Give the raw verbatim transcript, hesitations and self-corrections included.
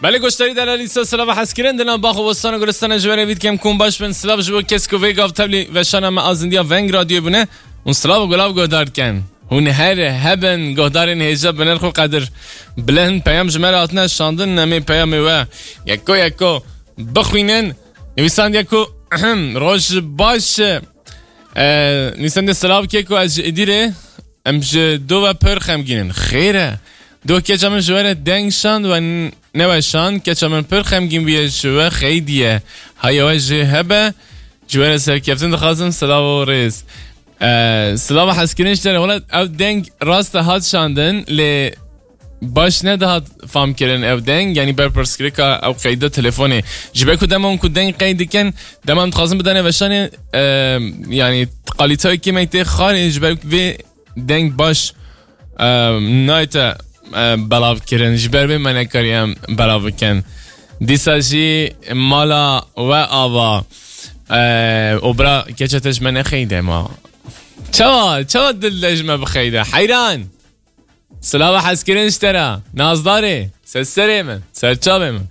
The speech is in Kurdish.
Belê goşdarî delalî se silava hezkirin dina bax û bostan û gulistana ji we re vî dikem kum baş bin. Silav ji bo kes ku vê gav tevlî veşana me azindiya veng radyoyê bûne. Hûn silav û gulav guhdar dikin. Hûn her hebin guhdarên hêja bi nirx û qedir bilind peyam ji me re hatine şandin, em ê peyamê we yeko yeko bixwînin. Nivîsandiye ku roj baş. E, nivîsandiye silav ke ku ez ji Îdîrê. Em ji do ve pir xemgîn in. Xêr e. Do keça min ji we re deng şand we n-, neweşand. Keça min pir xemgîn bûye ji we xeydiye. Haya we jê hebe. Ji we re serkeftin dixwazim. Silav û rêz. Ee, silava hezkirin ji te re. Wela ev deng rast e hat şandin, lê baş nedihat famkirin ev deng. Yanî berpirsgirêka ew qeyda telefonê. Ji ber ku dema hûn ku deng qeyd dikin, dema em dixwazin bidane veşanê, e, yanî qalîteyê kêmek tê xarê, ji ber vê deng baş, e, nayte, e, belav kirin. Ji ber vê me nekariye em belav bikin. Dîsa jî mala we ava. E, û bira keça te ji me nexeyde ma. Çawa, çawa dil de ji me bixeyde? Heyran! Silava hezkirin ji te re. Nazdarê. Ser serê min. Ser çavê min.